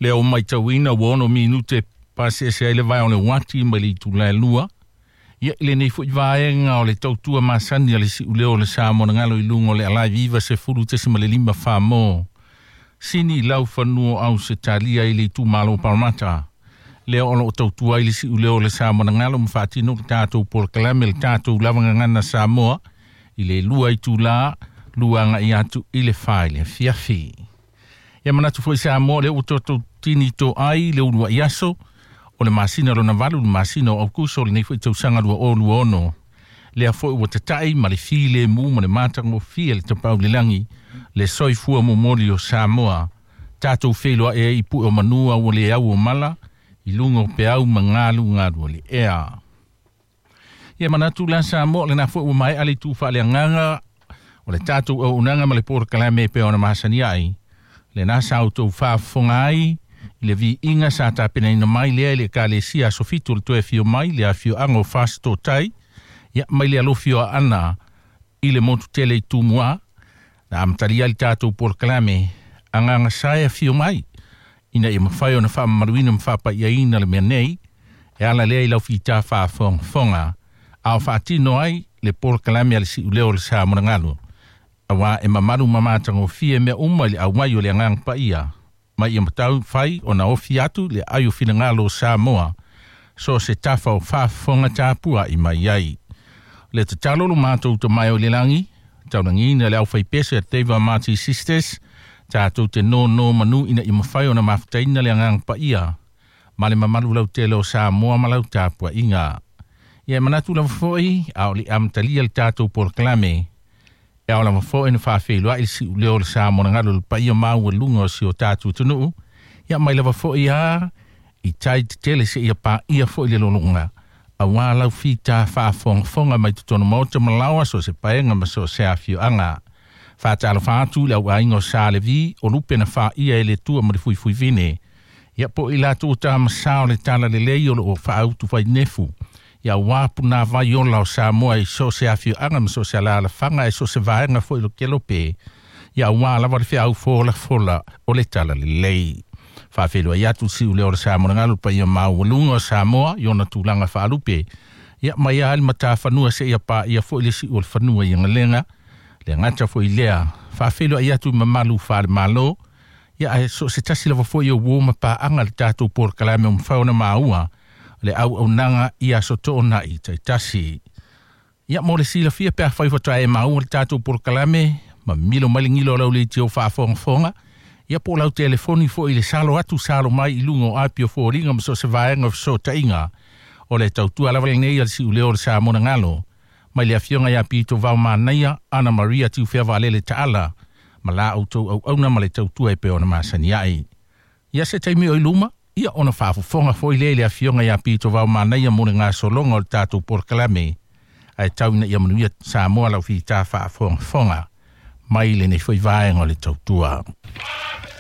Lea ua matauina ua 6 minute paseese ai le vae o le uati mai le itula e 2. Ia i lenei foi vaega o le tautua masani a le siuleo o le Samoa na galo i luga o le Alive 90.5 Famo. Sini lau fanua au se talia i le itumalo Parramatta. Lea o loo tautua ai le siuleo o le Samoa na galo ma faatino le tatou polokalame le tatou lavagagana Samoa i le 2 itula 2 agai atu i le 4 i le afiafi. Ia manatu foi Samoa lea ua tatou tini to ai le uluai aso o le masina lona 8 le masina o Aukuso lenei foi tausaga 2026. Lea foi ua tatai ma le filemu ma le matagofie le tapaau i le lagi le soifua momoli o Samoa. Tatou feiloai ai i pue o manua ua le au o mala i luga o peau ma galugalu o le ea. Ia manatu la Samoa lena foi ua maea le itu faaleagaga o le tatou auaunaga ma le polokalame e pei ona masani ai. Lena sa outou faafofoga ai i le viiga sa tapenaina mai lea i le Ekalesia Aso Fitu o le toe afio mai le afioaga o Fasitotai, ia mai le alofi o Aana i le motu tele i Tumua, na amatalia ai le tatou polokalame agaga sa e afio mai ina ia mafai ona faamamaluina ma faapaiaina le mea nei e ala lea i lau fita faafogafoga a o faatino ai le polokalame a le siuleo o le Samoa auā e mamalu ma matagofie mea uma i le auai o le agaga paia mai ia matau fai ona ofi atu le ai o finagalo o Samoa so se tafa o faafofoga tapuai mai ai. Le tatalo lo matou tamae o le lagi, taulagiina le aufaipese a Teiva Marty Sisters, tatou te nono manu ina ia mafai ona mafutaina le agaga paia ma le mamalu lautele o Samoa ma lau tapuaiga. Ia e manatu lava foi a o le amatalia le tatou polokalame e ao lava foi na faafeiloai le siuleo o le Samoa na galo le paia maualuga o si o tatou atunuu. Ia mai lava foi a i tai tetele seia paia foi le lologa auā lau fita faafogafoga mai totonu maota ma laoa so se paega ma so se afioaga. Faatalofa atu i le auaiga o Sa Levi o lupe na faia e le Atua ma le fuifuivine. Ia po i latou tamasā o le talalelei o loo faautu fainefu. Ia auā punāvai ola o Samoa i so se afioaga ma so se alaalafaga e so se vaega foi lo kelope. Ia auā lava le feau folafola o le talalelei. Faafeiloai atu le siuleo o le Samoa na galo le paia maualuga o Samoa i ona tulaga faalupe. Ia mai lava le matafanua seia paia foi le siu o le fanua i Agalega. Le gata foi lea, faafeiloai atu i mamalu faale-Malo. Ia ae so o se tasi lava foi o uo ma paaga le tatou polokalame o mafai ona maua le auaunaga i aso toonai taitasi. Ia mo le silafia pe afai faatoa e maua le tatou polokalame ma milo mai le gilo o lau leitio faafogafoga, ia po o lau telefoni foi i le salo atu salo mai i luga o api o foliga ma so o se vaega o fesootaiga. O le tautua lava lenei a le siuleo o le Samoa na galo mai le afioga ia Pito Vaomanaia Ana Maria Tiufea Vaalele Taala ma la outou auauna ma le tautua e pei ona masani ai. Ia se taimi o i luma, ia ona faafofoga foi lea i le afioga ia Pito Vaomanaia mo le gasologa o le tatou polokalame ae tau ina ia manuia Samoa lau fita faafogafoga mai lenei foi vaega o le tautua.